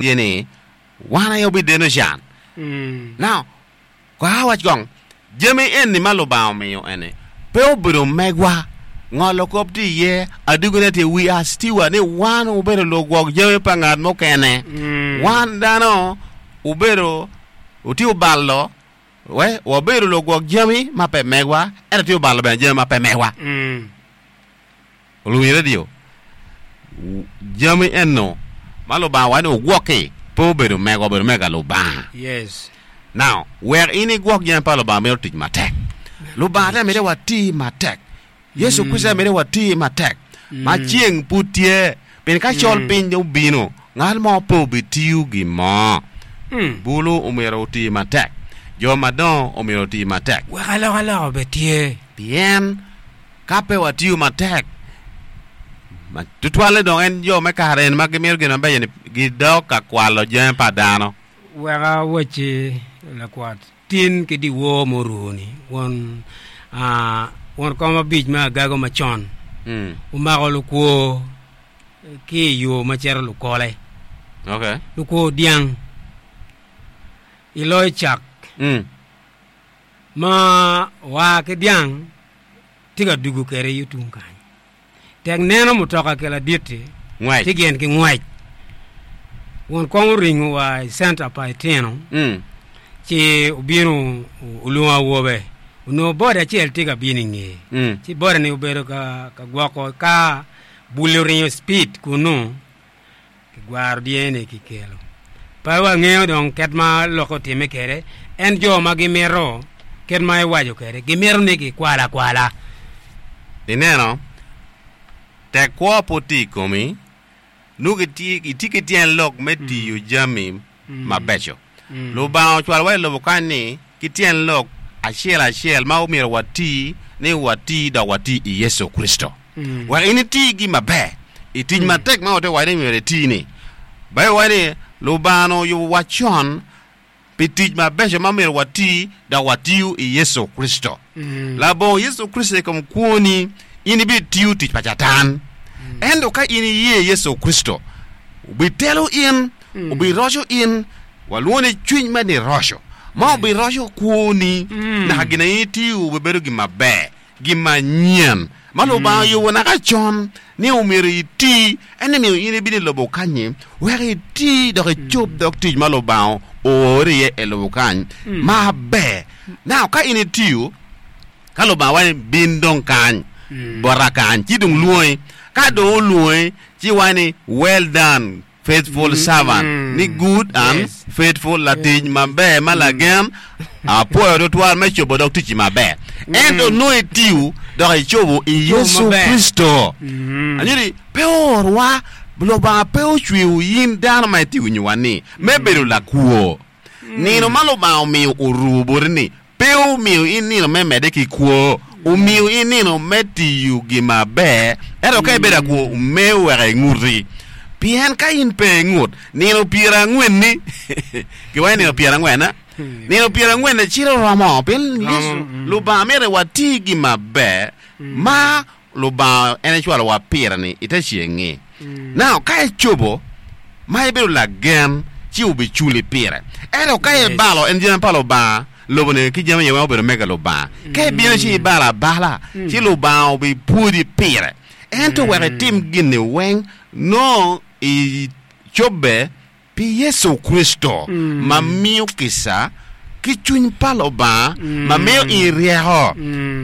Tye ni, wan aye wubideno can. Now, kong awac kong, jami eni ma Lubanga omiyo eni pe obedo megwa. Ngolo kop tye iye, adugone tye, we are steward, ni wan wubedo lugwok jami pa ngat mukene. Wan dano wubedo, wutye wubalo, we wabedo lugwok jami ma pe megwa, ento tye wubalo bene jami ma pe megwa. Luwiny redio, jami eno ma Lubanga owaco ni wugwok-ki pe obedo mego, obedo mega Lubanga. Yes. Now, wek in igwok jami pa Lubanga mito tic matek. Lubanga te mito wati matek. Yecu Kricito mito wati matek. Ma ceng pud tye, pien ka col piny dong obino, ngat mo pe obitiyo gin mo. Bulu omyero oti matek. Jo madongo omyero oti matek. Wek alokaloka obed tye. Pien Ka pe watiyo matek, ma tutwalle dong en jo me kare eni ma gimito gin mabeco-ni gidok ka kwalo jami pa dano. Wek awacci lakwat, tin ki dyewor muruo-ni, won won kom abic me agago macon omako lukwor ki i yo ma cito lukole, lukwor dyang i loyo cak ma oa ki dyang tye ka dugo kwede yo tung kany. Tek neno mutoka ki ladit-ti Ngwec. ci gin ki ngwec. Won kom oringo wa i centa pa itino ci obino olwongo awobe. Onongo boda acel tye ka bino i ngeye. Ci boda-ni obedo ka gwoko ka bul-li oringo cipid kunu. Kigwaro dyene kikelo. Pe wangeyo dong kit ma lokke otimme kwede. En jo ma gimito kit ma iwaco kwede, gimito ni gikwal akwala. Ineno, tek kwo pud tye i komi, nongo itye ki tyen lok me tiyo jami mabeco. Lubanga ocwalowa i lobo kany ni ki tyen lok acel acel ma omyero wati ni wati dok wati i Yecu Kricito. Wek in iti gin maber i tic matek ma watye waco ni myero iti ni. Baibul waco ni Lubanga onongo oyubo wa con pi tic mabeco ma myero wati dok watiyo i Yecu Kricito. Labongo Yecu Kricito i kom kwoni, in ibitiyo tic pa Catan. Ento ka in iye Yecu Kricito, obitelo in, obiroco in, walwongo ni cwiny me niroco, ma obiroco kwoni naka gin ma in itiyo obibedo gin maber, gin manyen ma Lubanga oyubo naka con ni omyero iti. En omiyo in ibino i lobo kany-nyi wek iti dok icob dog tic ma Lubanga oori iye i lobo kany maber. Now ka in itiyo, ka Lubanga waco ni bin dong kany bota kany, ci dong lwongi. Ka dong olwongi, ci waco ni well done faithful servant, ni good and faithful, latic maber ma lagen, apwoyo tutwal me cobo dog ticci maber. Ento nongo itiyo dok icobo i Yecu Kricito. Anyuti pe oorwa, Lubanga pe ocweyo in dano ma itye winyowa ni me bedo lakwo. Nino ma Lubanga omiyo orumo boti ni Pe omiyo in nino me medde ki kwo, omiyo in nino me tiyo gin maber, ento ka ibedo akwo, me weko inguti. Pien ka in pe ingut, nino pyerangwen-ni, giwaco ni nino pyerangwen, a? Nino pyerangwen-ni cito romo, pien Yecu, Lubanga mito ni wati gin maber ma Lubanga en ecwalowa pire-ni i te ceng-ngi. Now, ka icobo ma ibedo lagen, ci obiculi pire. Ento ka ibalo en jami pa Lubanga, lobo-ni ki jami iye weng obedo mega Lubanga. Ka ibino ci ibalo abala, ci Lubanga obipwodi pire. Ento wek itim gin-ni weng, nongo icobbe Pi Yecu Kricito ma miyo kica ki cwiny pa Lubanga ma miyo in ryeko,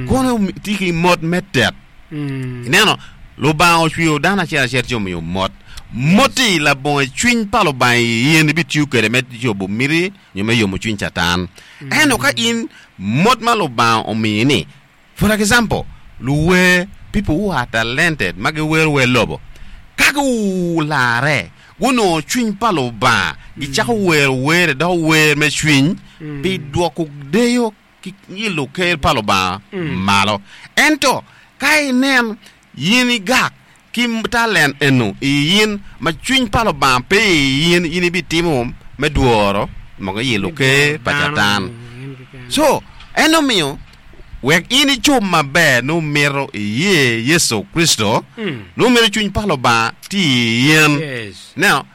kono itye ki mot me tet. Ineno, Lubanga ocweyo dano acel acel ci omiyo mot. Mot-ti labongo cwiny pa Lubanga i in ibitiyo kwede me cobo miti nyo me yomo cwiny Catan. Ento ka in mot ma Lubanga omiyi-ni For example, luwer, people who are talented ma giwero wer lobo, ka gularre, gunongo cwiny pa Lubanga, gicako wero wer-ri doko wer me cwiny pi dwoko deyo ki ilo ker pa Lubanga malo. Ento ka inen in igak Ki talent eno i in, ma cwiny pa Lubanga pe i in, in ibitimo me dworo moko i luker pa Catan. Co, en omiyo. Wek in icub maber nongo mito iye Yecu Kricito, nongo mito cwiny pa Lubanga tye i in. Yes. Ineno,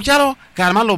calo kare ma Lubanga.